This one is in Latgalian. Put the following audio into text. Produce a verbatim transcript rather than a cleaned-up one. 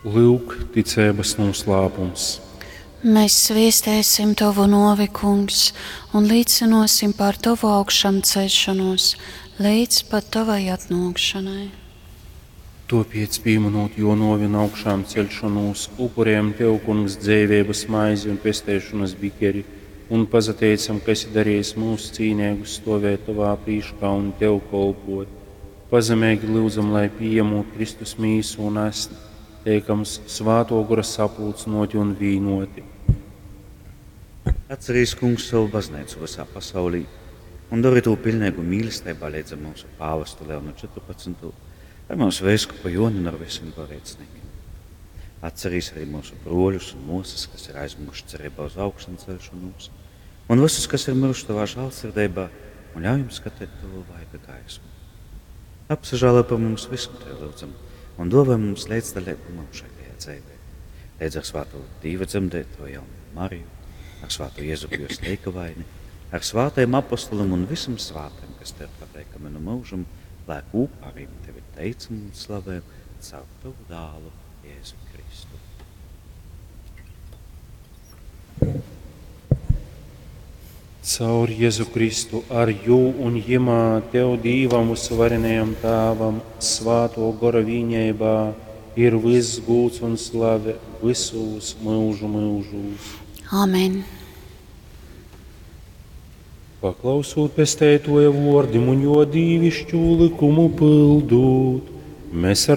Lyuk, ticeibas nūslāpums. Mēs sviestēsim Tovu novi, Kungs, un līcinosim par Tovu augšām celšanos līdz pat Tavai atnākšanai. Tāpēc, pieminot jo novi un augšām celšanos, upurējam Tev, Kungs, dzēvības maizi un pestēšanas bikeri, un pazateicam, ka esi darījis mūs cīnīgus stovēt Tavā prīškā un Tev kolpot. Pazemīgi lūdzam, lai pieņemot Kristus mīsu un asni, teikams svāto gora sapulcnoti un vīnoti. Atcerīs, kungs, savu baznīcu visā pasaulī un dari to pilnīgu mīlestībā līdz ar mūsu pāvestu Leonu četrpadsmito, ar mūsu veiskupu Joni un ar visiem garīdzniekiem. Atcerīs arī mūsu broļus un mūsas, kas ir aizmuguši cerībā uz augšancelšanos, un visus, kas ir miruši tavā žēlsirdībā, un ļauj jums skatīt tavu vaiga gaismu. Apsažālo par mums visam tevi lūdzam, un dāvā mums līdzdalību mūžīgajā dzīvē. Līdz ar svāto Dīva dzemdēto jaunu Mariju, ar svāto Jēzupu jo sleikavaini, ar svātajiem apostolim un visam svātajiem, kas tev pateikami no mūžam, lai kopā arī tevi teicam un slavējam caur tavu dālu Jēzu Kristu. Caur Jēzu Kristu, ar jū un jimā, Tev Dīvam visvarenajam Tēvam, svāto gora vīņībā, ir viss gūts un slave visos mūžu mūžos. Amen. Paklausot pestētoja vordim un jo dīvišķu likumu pildūt, mēs ar